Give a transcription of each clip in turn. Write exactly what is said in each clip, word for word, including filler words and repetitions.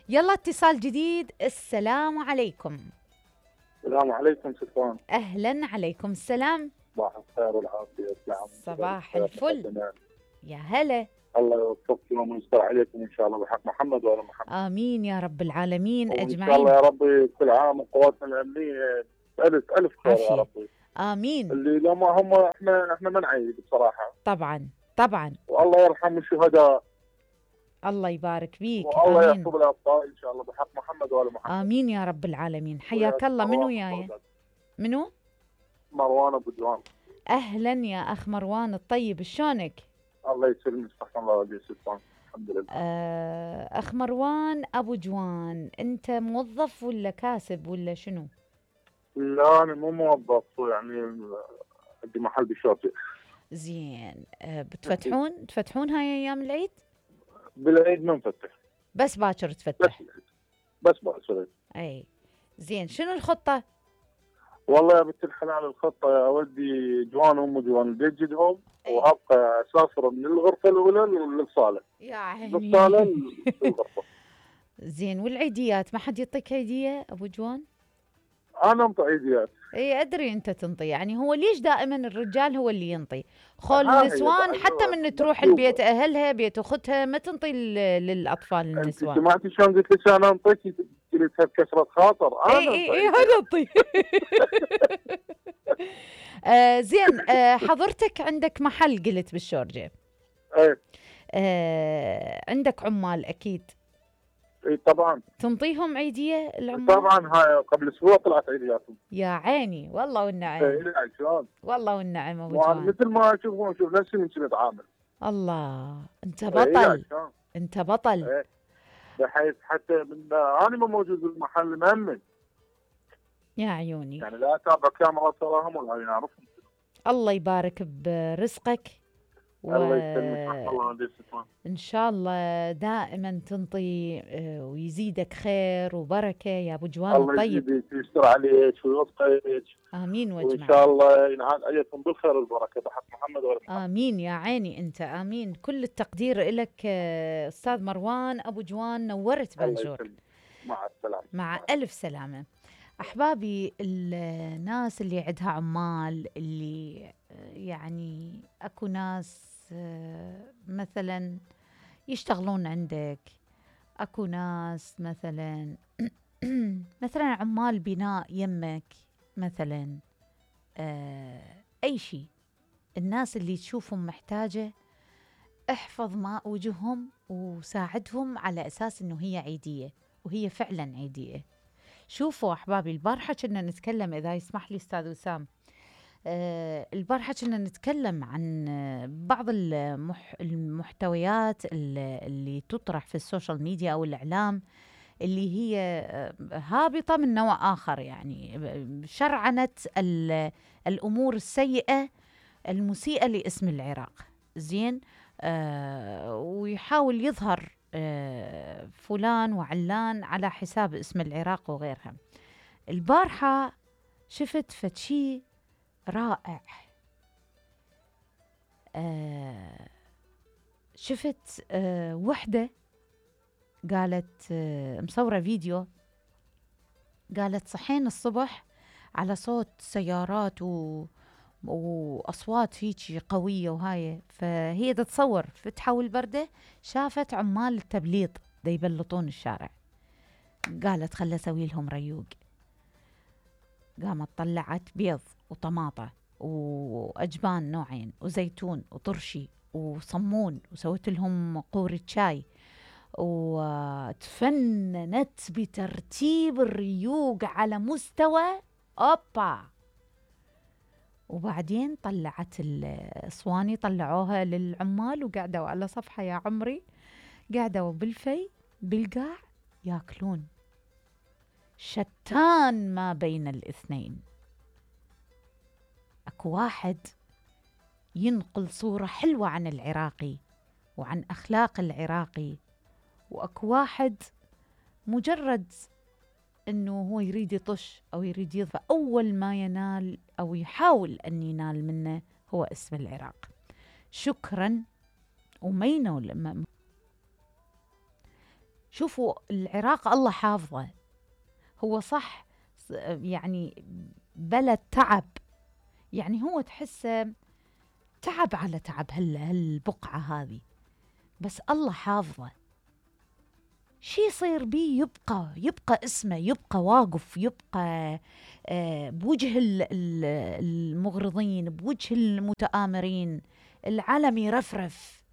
يلا اتصال جديد. السلام عليكم. السلام عليكم ستوان. أهلا، عليكم السلام. صباح الخير والعافية. صباح الفل. يا هلا. الله يوفقكم ويستر عليكم إن شاء الله بحق محمد وآل محمد. آمين يا رب العالمين أجمعين. وإن شاء الله يا ربي كل عام وقواتنا الأمنية ألف ألف خير يا ربي. آمين. اللي لما هم إحنا إحنا ما نعيد بصراحة. طبعا طبعا. والله يرحم الشهداء. الله يبارك فيك. والله يحفظ الأبطال إن شاء الله بحق محمد وآل محمد. آمين يا رب العالمين. حياك الله. منو وياي؟ منو؟ مروان أبو جوان. أهلا يا أخ مروان الطيب، شلونك؟ الله يسلمك. استغفر الله ودي ستوان. الحمد لله. آه أخ مروان أبو جوان، أنت موظف ولا كاسب ولا شنو؟ لا أنا مو موظف، يعني عندي محل بالشاطئ. زين. آه بتفتحون تفتحون هاي أيام العيد؟ بالعيد ما نفتح، بس باكر تفتح. بس بس باكر. أي زين. شنو الخطة؟ والله يا بنت الحلال الخطة يا ودي جوان أم جوان بيجدهم وأبقى أسافر من الغرفة الأولى للصالة. يا عيني. للصالة للغرفة. زين. والعيديات ما حد يعطيك عيدية أبو جوان؟ أنا أنطي عيديات. اي ادري انت تنطي، يعني هو ليش دائما الرجال هو اللي ينطي؟ خول النسوان حتى من تروح البيت اهلها بيت اختها ما تنطي للاطفال النسوان. انت سمعتي شلون قلت لك انا انطيك؟ قلت بكسرة خاطر. انا اي اي اي هذا انطي. آه زين. آه حضرتك عندك محل قلت بالشورجه. ايه. آه عندك عمال اكيد. اي طبعا. تنطيهم عيديه العمال؟ طبعا. هاي قبل اسبوع طلعت عيدياتهم. يا عيني والله والنعم. اي شلون؟ والله والنعم ابو جوان. مثل ما اشوفهم شوف نفسي من كذا اتعامل. الله انت بطل. انت بطل. ايه. بحيث حتى من انا ما موجود بالمحل مهمل. يا عيوني. يعني لا اتابع كاميرا تراهم ولا نعرفهم. الله يبارك برزقك. و... الله يسلمك. الله ان شاء الله دائما تنطي ويزيدك خير وبركه يا ابو جوان الله الطيب. الله يزيدك ويستر عليك ويوفقك. امين واجمعين. وان شاء الله ينعاد عليكم بالخير والبركه بحق محمد وآل محمد. امين يا عيني انت. امين. كل التقدير لك استاذ مروان ابو جوان. نورت بنجور. مع السلامه. مع الف سلامه. احبابي، الناس اللي عندها عمال، اللي يعني اكو ناس مثلا يشتغلون عندك، اكو ناس مثلا مثلا عمال بناء يمك مثلا، اي شيء. الناس اللي تشوفهم محتاجة احفظ ماء وجههم وساعدهم على اساس انه هي عيدية، وهي فعلا عيدية. شوفوا احبابي، البارحة كنا نتكلم، اذا يسمح لي استاذ وسام، أه البارحة كنا نتكلم عن بعض المح المحتويات اللي تطرح في السوشيال ميديا أو الإعلام، اللي هي هابطة من نوع آخر، يعني شرعنت الأمور السيئة المسيئة لاسم العراق. زين. أه ويحاول يظهر أه فلان وعلان على حساب اسم العراق وغيرها. البارحة شفت فتشي رائع. آه شفت آه وحدة قالت، آه مصورة فيديو، قالت صحين الصبح على صوت سيارات و وأصوات هيجي قوية وهاي، فهي تتصور فتحة والبردة شافت عمال التبليط دا يبلطون الشارع. قالت خل أسوي لهم ريوق. قامت طلعت بيض وطماطة وأجبان نوعين وزيتون وطرشي وصمون، وسويت لهم قورة شاي، وتفننت بترتيب الريوق على مستوى أوبا. وبعدين طلعت الصواني، طلعوها للعمال وقعدوا على صفحة يا عمري، قعدوا بالفي بالقاع ياكلون. شتان ما بين الاثنين. اكو واحد ينقل صورة حلوة عن العراقي وعن أخلاق العراقي، وأكو واحد مجرد أنه هو يريد يطش أو يريد يضفى، أول ما ينال أو يحاول أن ينال منه هو اسم العراق. شكرا. ومينو شوفوا العراق الله حافظه، هو صح يعني بلد تعب، يعني هو تحسه تعب على تعب هالبقعة هذه، بس الله حافظه. شي يصير بيه يبقى يبقى اسمه، يبقى واقف، يبقى آه بوجه المغرضين، بوجه المتآمرين. العلم يرفرف،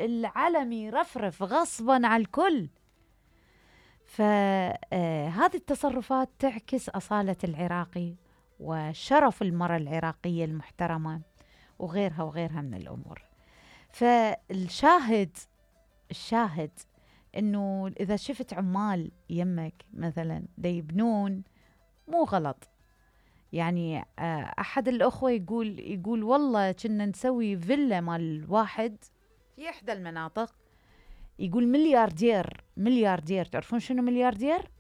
العلم يرفرف غصبا على الكل. فهذه التصرفات تعكس أصالة العراقي وشرف المرأة العراقية المحترمة وغيرها وغيرها من الأمور. فالشاهد الشاهد إنه إذا شفت عمال يمك مثلا دا يبنون، مو غلط. يعني أحد الأخوة يقول يقول والله كنا نسوي فيلا مال واحد في إحدى المناطق، يقول ملياردير ملياردير. تعرفون شنو ملياردير؟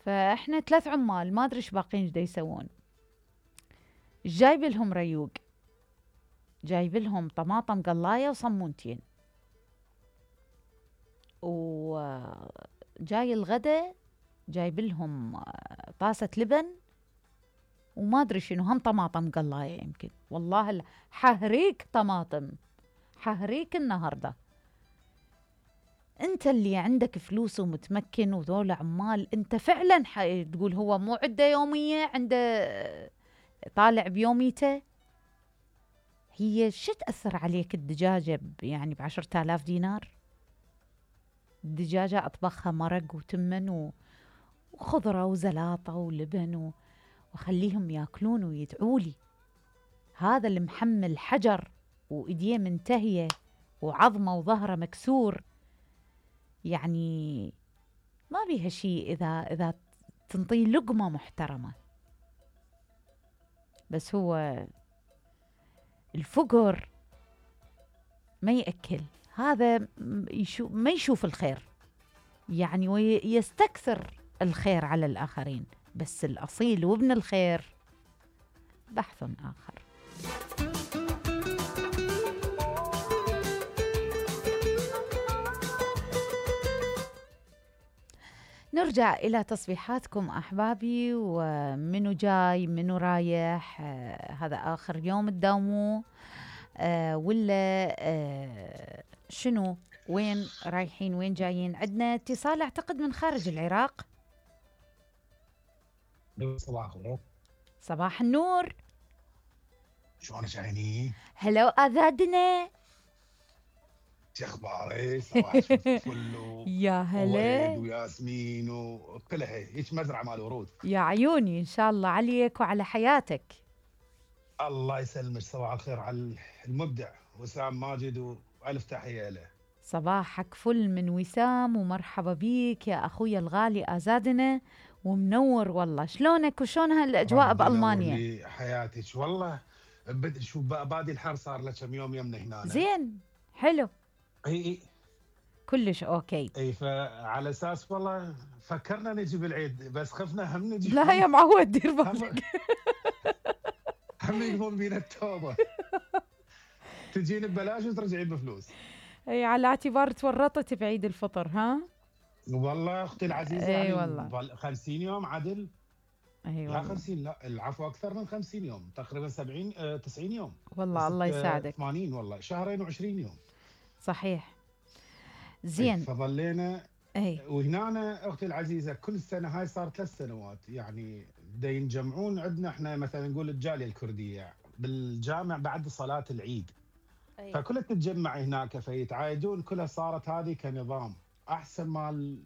فإحنا ثلاث عمال ما أدري إيش باقين إيش دا يسوون. جايب لهم ريوق، جايب لهم طماطم قلاية وصمونتين، وجاي الغداء جايب لهم طاسة لبن وما أدري شنو، هم طماطم قلاية يمكن. والله حهريك طماطم، حهريك النهاردة. أنت اللي عندك فلوس ومتمكن وذول عمال، أنت فعلا تقول هو مو عنده يومية، عنده طالع بيوميته. هي شو تأثر عليك الدجاجة يعني بعشرة آلاف دينار؟ الدجاجة أطبخها مرق وتمن وخضرة وزلاطة ولبن وخليهم ياكلون ويدعولي. هذا اللي محمل حجر وإيديه منتهية وعظمه وظهره مكسور، يعني ما بيها شيء إذا إذا تنطي لقمة محترمة. بس هو الفقر ما يأكل، هذا يشوف ما يشوف الخير يعني، ويستكثر الخير على الآخرين. بس الأصيل وابن الخير بحث آخر. نرجع إلى تصبيحاتكم أحبابي، ومنو جاي منو رايح، آه هذا آخر يوم تداوموه آه ولا آه شنو، وين رايحين وين جايين؟ عندنا اتصال أعتقد من خارج العراق. صباح الخير. صباح النور. شلونك عيني؟ هلو أذادنا، شو اخبارك؟ صباح الفل يا هلا وياسمين وكلها هيك مزرعه مال ورود. يا عيوني، ان شاء الله عليك وعلى حياتك. الله يسلمك. صباح الخير على المبدع وسام ماجد والف تحيه له. صباحك فل من وسام، ومرحبا بيك يا اخويا الغالي ازادنا، ومنور والله. شلونك وشلون هالاجواء بالمانيا؟ حياتك والله بد شو بادي الحر صار له كم يوم يمنا هنا. زين حلو. اي اي كلش اوكي. اي فعلى اساس والله فكرنا نجي بالعيد بس خفنا هم نجي. لا يا معود دير بالك. هم يقومون بينا التوبه. تجين ببلاش وترجعين بفلوس. اي على اعتبار تورطت بعيد الفطر. ها والله اختي العزيزه. اي يعني والله خمسين يوم عدل. اي لا خمسين، لا العفو اكثر من خمسين يوم، تقريبا سبعين آه تسعين يوم والله. الله يساعدك. ثمانين والله، شهرين وعشرين يوم. صحيح. زين. فظلينا اي. وهنا اختي العزيزه كل سنه، هاي صار ثلاث سنوات يعني دا ينجمعون عندنا احنا مثلا نقول الجاليه الكرديه بالجامع بعد صلاه العيد. أي. فكلها تتجمع هناك فيتعايدون، كلها صارت هذه كنظام احسن مال.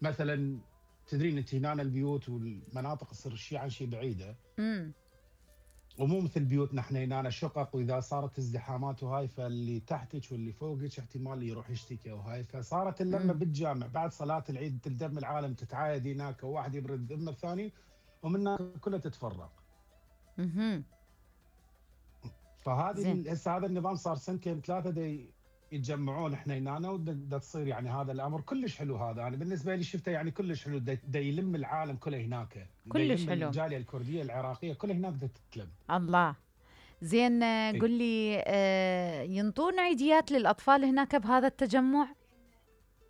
مثلا تدرين انت هنا البيوت والمناطق تصير شيء عن شيء بعيده. امم ومو مثل بيوتنا احنا هنا شقق، واذا صارت ازدحامات وهاي فاللي تحتك واللي فوقك احتمال يروح يشتكي وهاي. فصارت اللمه بالجامع بعد صلاه العيد، تلتم العالم تتعايد هناك، وواحد يبرد ذمه الثاني ومن هناك كلها تتفرق. اها فهذه هسه هذا النظام صار سنتين ثلاثه دي يتجمعون احنا هنا، ودا تصير يعني هذا الامر كلش حلو. هذا انا يعني بالنسبه لي شفته يعني كلش حلو، دا يلم العالم كله هناك، كلش حلو. الجاليه الكرديه العراقيه كلها هناك دا تتلم. الله. زين قل لي آه ينطون عيديات للاطفال هناك بهذا التجمع؟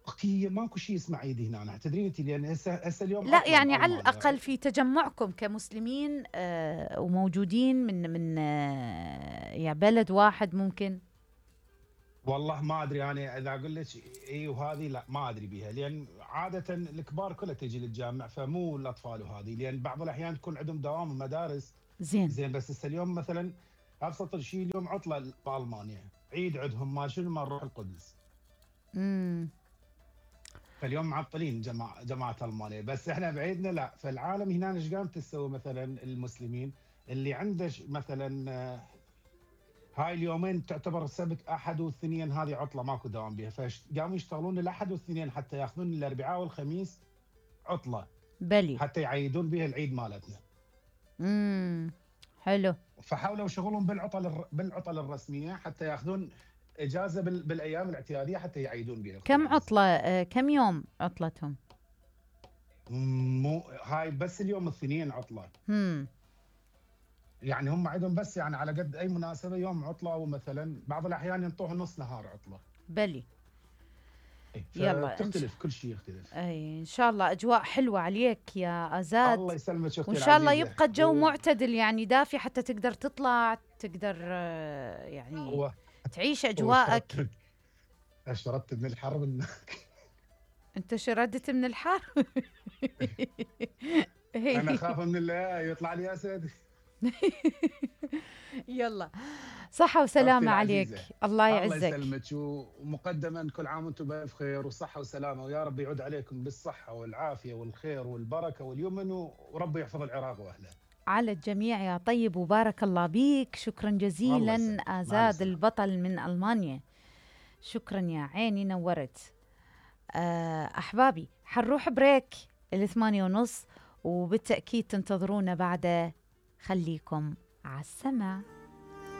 اختي ماكو شيء اسمه عيد هنا، تدرين انت، لان هسه هسه اليوم لا عطلة يعني على بألمانيا. الأقل في تجمعكم كمسلمين آه وموجودين من من آه يا بلد واحد ممكن. والله ما ادري انا اذا اقول لك اي وهذه لا ما ادري بها، لان عاده الكبار كلها تجي للجامع، فمو الاطفال وهذه، لان بعض الاحيان تكون عندهم دوام مدارس. زين زين بس هسه اليوم مثلا ابسط شيء اليوم عطله بالمانيا، عيد عندهم ما شنو ما نروح القدس. امم فاليوم معطلين جماعه جماعه المانيا، بس احنا بعيدنا لا. فالعالم هنا ايش قام تسوي مثلا المسلمين اللي عنده مثلا آه، هاي اليومين تعتبر السبت احد واثنين، هذه عطله ماكو دوام بها، فقاموا يشتغلون الاحد والاثنين حتى ياخذون الاربعاء والخميس عطله، بلي حتى يعيدون بها العيد مالتنا. امم حلو. فحاولوا يشغلون بالعطل الر- بالعطل الرسميه حتى ياخذون اجازه بال... بالايام الاعتياديه حتى يعيدون بها. كم عطلة آه كم يوم عطلتهم؟ مو هاي بس اليوم الاثنين عطله. امم يعني هم عندهم بس يعني على قد اي مناسبه يوم عطله، ومثلا بعض الاحيان ينطوها نص نهار عطله. بلي إيه، يلا فتختلف كل شيء يختلف. اي ان شاء الله اجواء حلوه عليك يا ازاد. الله يسلمك اختي وان شاء الله العزيزة. يبقى الجو و... معتدل يعني دافي حتى تقدر تطلع، تقدر آه، يعني هو تعيش هو اجواءك. شربت شربت من الحر من انت شردت من الحر. انا خاف من الله يطلع لي اسد. يلا صحة وسلامة عليك. الله الله يعزك. يسلمك، ومقدما كل عام وانتم بألف خير وصحة وسلامة، ويا رب يعود عليكم بالصحة والعافية والخير والبركة واليمن، ورب يحفظ العراق واهله. على الجميع يا طيب، وبارك الله بيك. شكرا الله جزيلا يسلمك. مع آزاد السلامة. البطل من ألمانيا. شكرا يا عيني نورت. آه، أحبابي حنروح بريك الثمانية ونص، وبالتأكيد تنتظرونا بعد. خليكم على السمع.